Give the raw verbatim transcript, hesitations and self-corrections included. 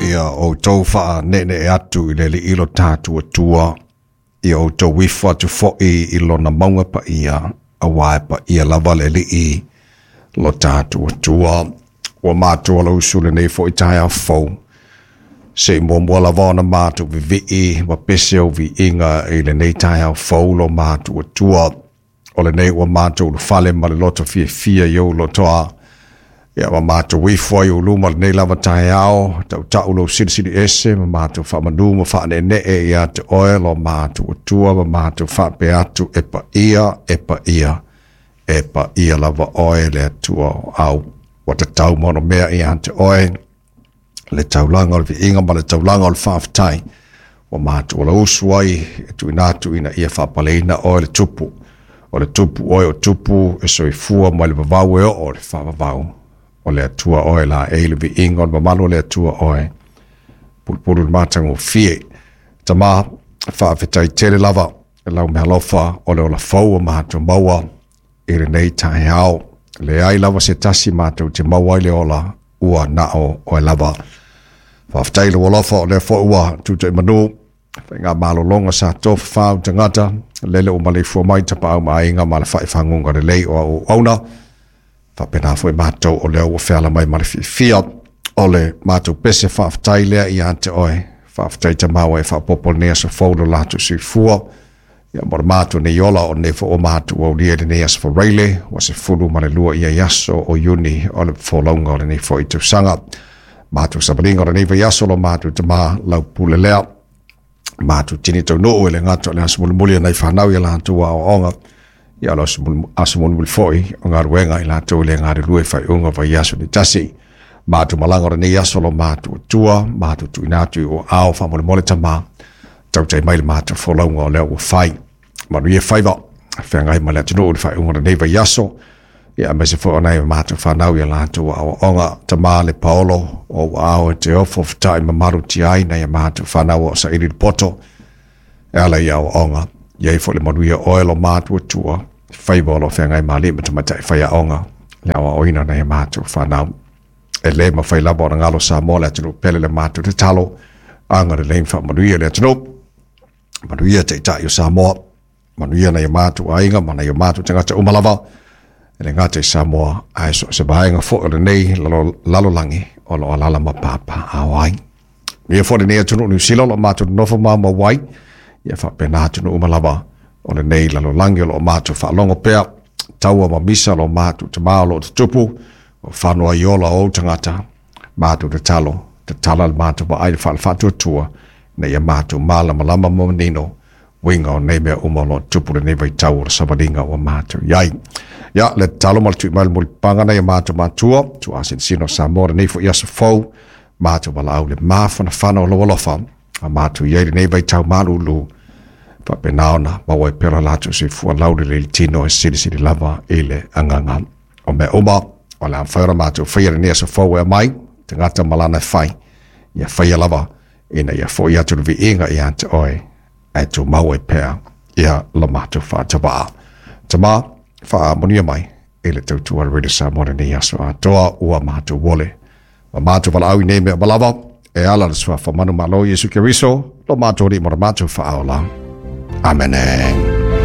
Ia outou faaneenee atu i le Alii lo tatou Atua, ia outou ifo atu foʻi i lona mauga paia, auā e paia lava le Alii lo tatou Atua. Ua matou alausu lenei foʻi taeao fou, seʻi muamua lava ona matou vivii ma pese ou viiga i lenei taeao fou lo matou Atua. O lenei ua matou ulufale ma le loto fiafia i ou lotoa, ia ma matou ifo ai ou luma lenei lava taeao, tautau lou silisili ese ma matou faamanu ma faaneenee ia te oe lo matou Atua, ma matou faapea atu, e paia, e paia, e paia lava oe le Atua o au. Ua tatau ma ona mea ia te oe le taulaga o le viiga ma le taulaga o le faafetai. Ua matou alausu ai e tuuina atu ina ia faapaleina oe le tupu. O le tupu oe o tupu e soifua mai le vavau e oo le faavavau. O le Atua oe la e le viiga o le mamalu o le Atua oe. Pulupulu le matagofie. Tama, faafetai tele lava lau mealofa o le ola fou o matou maua i lenei taeao. Leai lava se tasi matou te maua ai le ola ua nao oe lava. Faafetai le alofa o lea foi ua tutoʻimanu faiga malologa sa tofafau tagata lele ua maleifua mai tapaau ma aiga ma le faaifaguga lelei o auauna. Faapena foi matou o lea ua feala mai ma le fiafia o le matou pese faafetai lea ia te oe. Faafetai Tama ua e faaopoopo lenei aso fou lo latou soifua. Ia mo le matou nei ola o lenei foi ua matou aulia i lenei aso Faraile, ua sefulu ma le lua ia aso o Iuni o le folauga o lenei foi tausaga. Matou savaliga o lenei vaiaso lo matou Tama lau pule lea. Matou tini taunuu e le gata o le aso mulimuli o nai fanau ia latou aoaoga, ia o le aso mulimuli foi o galuega i latou le galulue faaiuga vaiaso le tasi. Matou malaga o lenei aso lo matou Atua, matou tuuina atu i ou aao faamolemole Tama, tautai mai le matou folauga o lea ua fai. Manuia faiva, feagai ma le atunuu i le faaiuga o lenei vaiaso, ia aemaise foi o nai matou fanau ia latou aoaoga. Tama le Paolo, o ou aao e te ofo fetai mamalu tiai nai a matou fanau o saili le poto, e ala i aoaoga. Ia i foi le manuia oe lo matou Atua, faiva o lo feagai ma alii ma tamaitai faiaoga, le aoaoina nai a matou fanau. E le mafai lava ona galo Samoa le atunuu pele le matou tatalo, agalelei ma faamanuia le atunuu. Manuia taitai o Samoa, manuia nai o matou aiga ma nai o matou tagata uma lava, e le gata i Samoa, ae so o se vaega foi o lenei lalolagi o lo o alaala ma papaaao ai. Manuia foi lenei atunuu Niu Sila o lo o matou nonofo maumau ai, ia faapena atunuu uma lava o lenei lalolagi o lo o matou faalogo pea, taua ma misa lo matou Tama o lo o tutupu, o fano ai ola o ou tagata, matou tatalo, tatala le matou vaai le faalefaatuatua, ina ia matou malamalama ma manino uiga o nei mea uma o lo o tupu lenei vaitau o le savaliga ua matou i ai. Ia, le tatalo ma le tui mai le mulipapaga nai a matou matua, tuuasinosino Samoa lenei foi aso fou, matou valaau le mafanafana o lou alofa, a matou i ai lenei vaitau malulu, faapena ona maua ai pea lo latou soifua laulelei le tino e silisili lava i le agaga. O mea uma o le a mafai ona matou faia lenei aso fou e aumai, tagata ma lana e fai, ia faia lava ina ia foʻi atu le viiga ia te oe, ae tumau ai pea ia lo matou faatavaa. Tama, faamanuia mai i le tautua a le Radio Samoa lenei aso atoa ua matou ole. Ma matou valaau i nei mea uma lava, e ala le suafa manumalo Iesu Keriso, lo matou Alii ma lo matou Faaola. Amene.